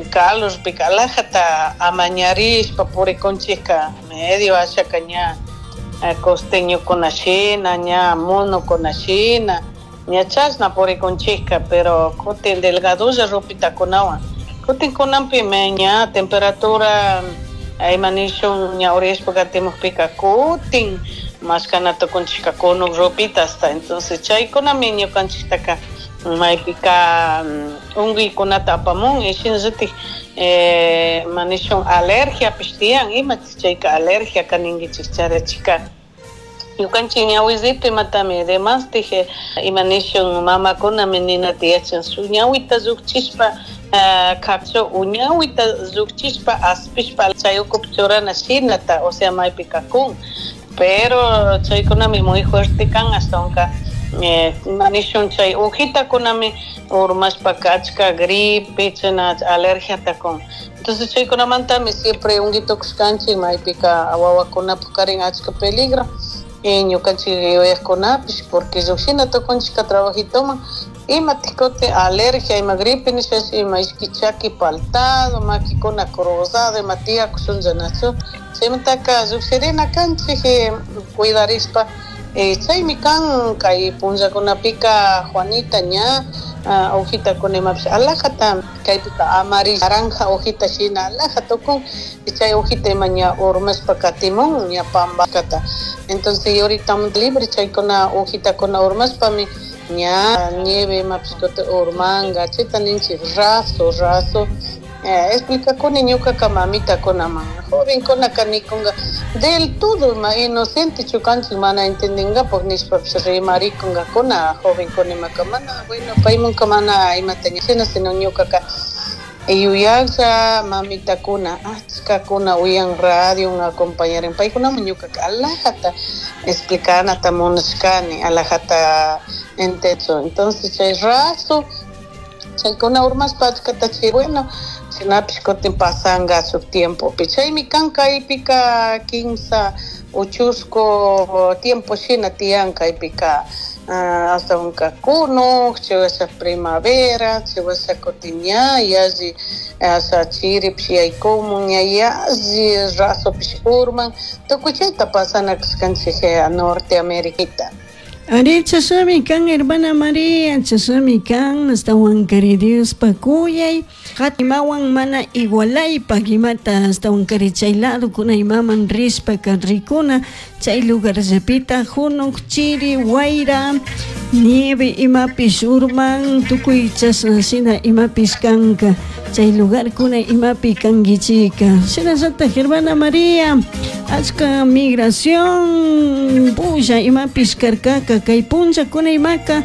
Calorpika alajata amañarishpa purikunchikka medio ashaka ña costeñokuna shina, ña monokuna shina, ña chashna purikunchikka, pero kutin delgadolla ropitakunawan. Kutin kunanpimi ña temperatura ima nishun ña uriyashpa katimukpika kutin mashkana tukunchikka kunuk ropita hasta. Entonces chaykunami ñukanchiktaka maypika unkuykunata apamun y shinallatik ima nishun alergiapish tiyan. Imatik chayka alergia kaninkichik charachika? Ñukanchik ñawisito imatami demastik ima nishun mamakunami ninata yachan, shuk ñawita llukchishpa kachu o ñawita llukchishpa aspishpa chay ukupi churana shinata, o sea, maypika kun, pero chaykunami muy fuerte kan. Ashtawanka ima nishun chay hojitakunami urmashpaka achka gripe china alergiata kun. Entonces chaykunamantami siempre unkitukushkanchik. Maypika wawakunapak karin achka peligro y ñukanchik yuyakkunapish, porque llukshina tukunchikka trabajitoman, imatik kutin alergia, ima gripe nishashi, ima ishki chaki paltado, makikuna cruzado, ima tiyakushunlla, nachu? Chaymantaka llukshirina kanchik cuidarishpa. Chaymi kan kay punllakunapika, Juanita, ña hojitakuna imapish alajata kaypika amarillo, naranja hojita shina alaja tukun. Chay hojita ima ña urmashpa katimun ña pambakata. Entonces ahorita libre chaykuna hojitakuna urmashpami ña nieve imapish kutin urmanga. Chayta ninchik raso, raso. Explicakuni ñukaka mamitakunaman. Jovenkunaka nikunga del todo ima inocente chukanchik mana entendingapak nishpapish rimarikunkakuna jovenkuna imaka mana, bueno, paymunka mana imata shina, sino ñukaka yuyaklla mamitakuna achkakuna uyan radio acompañarin, paykunaman ñukaka alajata explicanata munashkani, alajata entecho. Entonces chay raso chaykuna urmashpa achkata chay, bueno, shinapish kutin pasanga shuk tiempopi. Chaymi kan kaypika kimsa o chusku tiempo shina tiyan kaypika, ashtawanka kunuk chaywasha primavera, chaywasha kutin ña yalli asha chiripish yaykumun, ña yalli rasopish urman, tukuy chayta pasana kashkanchik Norte Ameriquita. Ari, chashnami kan, hermana María, chashnami kan. Ashtawankari Diospa kuyay imawan mana igualaypak imata, ashtawankari chay ladokuna imaman rishpaka rikuna chay lugarllapita junuk chiri, wayra, nieve imapish urman, tukuy chashna shina imapish kanka chay lugarkuna imapi kankichika. Shinallatak, hermana María, achka migración pulla imapish karkaka. Kay punllakuna imaka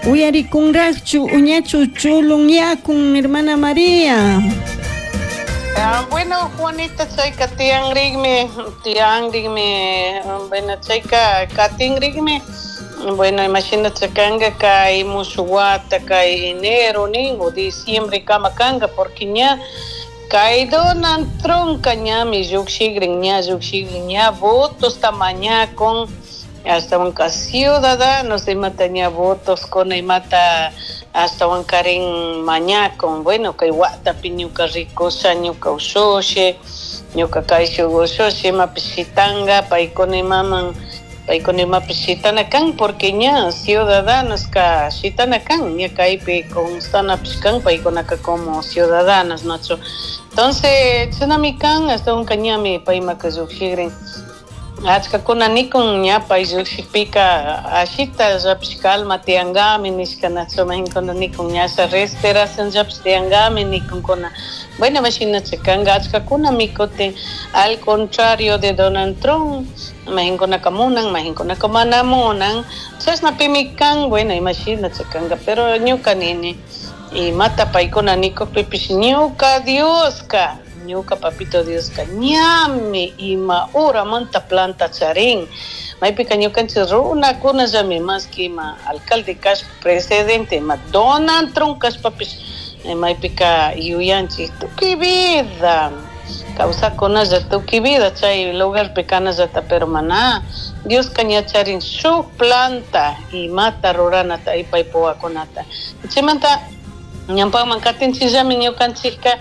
uyarikunrakchu uñachu chulunyakun, hermana María? Ah, bueno, Juanita, chayka tiyanrikmi, tiyanrikmi, bueno, chayka katinrikmi. Bueno, imagínate kanga kay mushuk wata, kay enero nin o diciembre kama kanga, porque ña kay Donald Trump ñami llukshikrin, ña llukshikrin, ña votos mañakun, ashtawanka ciudadanos imata ña votos kuna imata ashtawankarin mañakun. Bueno, kay watapi ñuka rikusha, ñuka ushushi, ñuka kayshuk ushushi imapish shitanga, paykuna imaman, paykuna imapish shitana kan, porque ña ciudadanos ka shitana kan, ña kaypi constanapish kan paykunaka como ciudadanos, nachu? Entonces chashnami kan, ashtawanka ñami paymaka llukshikrin. Achkakuna nikun ña pay llukshikpika ashita llapish calma tiyankami nishka, nachu? Majinkuna nikun ñasha respiración llapish tiyankami nikunkuna. Bueno, imashinacha kanka, achkakunami kutin al contrario de Donald Trump majinkunaka munan, majinkunaka mana munan, chashnapimi kan. Bueno, imashinacha kanka, pero ñuka nini, imata paykuna nikukpipish, ñuka Dioska, ñuka papito Dioska ñami ima horamanta planta charin. Maypika ñukanchik runakunallami, más que ima alcalde kashpa, presidente, ima Donald Trump kashpapish, maypika yuyanchik tukuy vida kawsakunalla, tukuy vida chay lugarpi kanallata, pero mana, Dioska ña charin shuk planta imata ruranata y paypa wawakunata. Chaymanta ñawpakman katinchikllami ñukanchikka.